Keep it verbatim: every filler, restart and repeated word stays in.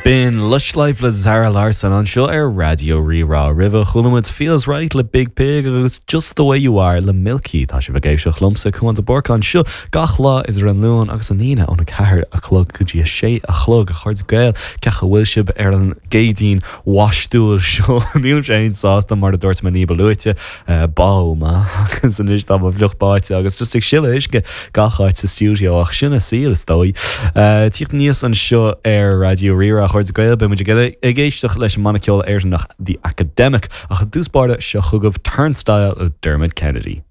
B'in Lush Life le Zara Larsson anseo ar Raidió Rí-Rá roimhe chuala muid Feels Right le Biig Piig agus Just the Way You Are le Milky Tá sibh ag éisteacht liomsa Cuan de Búrca anseo gach lá idir an Luan agus an Aoine óna ceathair a chlog go dtí a sé a chlog a chairde Gael cén chaoi a bhfuil sibh ar an gCéadaoin bháistiúil seo nílim féin sásta mar a dúirt mé ní ba luaithe bádh mé agus anois tá mo fhliuch báite agus just ag sileadh uisce gach áit sa stiúideo ach sin an saol is dóigh. Tíocht níos anseo ar Raidió Rí-Rá a chairde Gael beimid ag éisteacht leis an mbanna ceoil Éireannach The Academic ach i dtús báire seo chugaibh Turnstile le Dermot Kennedy.